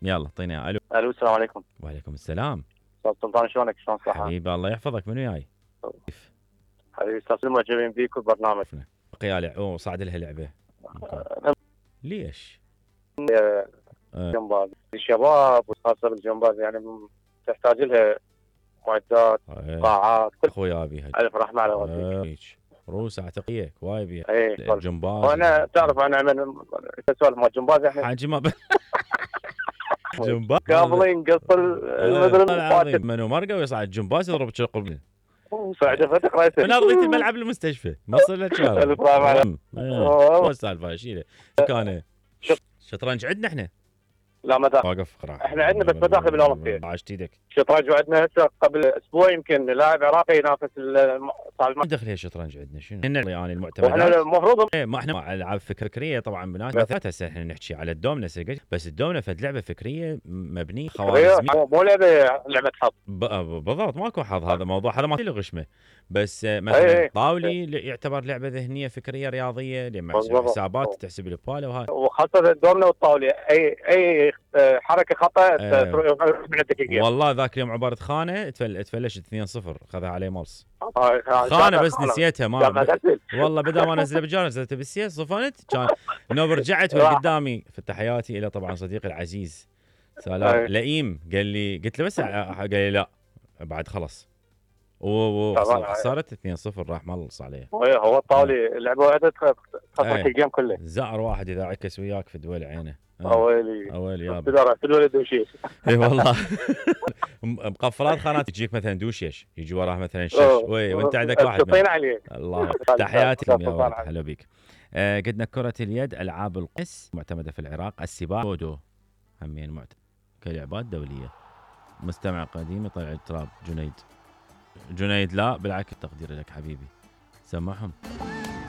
يلا اعطيني. الو. الو السلام عليكم. وعليكم السلام. استاذ سلطان شلونك؟ شلون صحة؟ حبيبي الله يحفظك. منو جاي؟ حبيبي استاذ سلمى معجبين بيك والبرنامج. بقيالي صعد لها لعبه. ليش؟ جمباز الشباب وخاصة بالجمباز يعني تحتاج لها معدات قاعات كل اخويا ابي الف رحمه على والديك. روس اعتقيك وايد بيها. ايه الجمباز وانا تعرف انا من سوالف مال الجمباز احنا حاجه ما جمباز قابلين قص المدرسه منو مرقه ويصعد الجمباز يضرب شرق وصعد فتح راسه من ارضيه الملعب المستشفى ما صار له شغله. الف رحمه على شو السالفه شيله كان شطرنج عندنا احنا. لا ما واقف قراءة. احنا عندنا بس مداخل بالاولمبياد. عاشت ايدك. شطرنج وعندنا هسه قبل اسبوع يمكن لاعب عراقي ينافس ما دخل هي الشطرنج عندنا شنو؟ يعني المعتمدات. احنا المفروض ما احنا العاب فكريه طبعا بنات هسه احنا نحكي على الدومنه بس الدومنه فد لعبه فكريه مبنيه خوارزميه مو لعبه حظ. بالضبط ماكو حظ. هذا موضوع هذا ما له غشمه. بس مثلا طاولي يعتبر لعبه ذهنيه فكريه رياضيه لما حسابات تحسب الباله وهذا. وخاصه الدومنه والطاوله اي حركه خطا والله ذاك اليوم عباره خانه تفلشت 2-0 خذها عليه ملص. خانه بس نسيتها ما والله بدل ما انزلها بالجار نزلتها بالسيس صفنت كان نوب رجعت والقدامي في تحياتي الى طبعا صديقي العزيز سلام لئيم قال لي قلت له بس قال لي لا بعد خلص صارت 2-0 راح ملص عليه. هو الطاولي لعبه واحده خسرت الجيم كله. زعر واحد اذا عكس وياك في دول عينه. اويلي يا في الولد دوشيش. اي والله مقفلات خانات تجيك مثلا دوشيش يجي وراه مثلا شش وانت عندك واحد تطين عليه. الله تحياتي يا ولد هلا بك. قدنا كرة اليد العاب القس معتمدة في العراق. السباحة بودو همين معتمد كلعبات دولية. مستمع قديم يطلع التراب. جنيد لا بالعكس تقديري لك حبيبي سمعهم.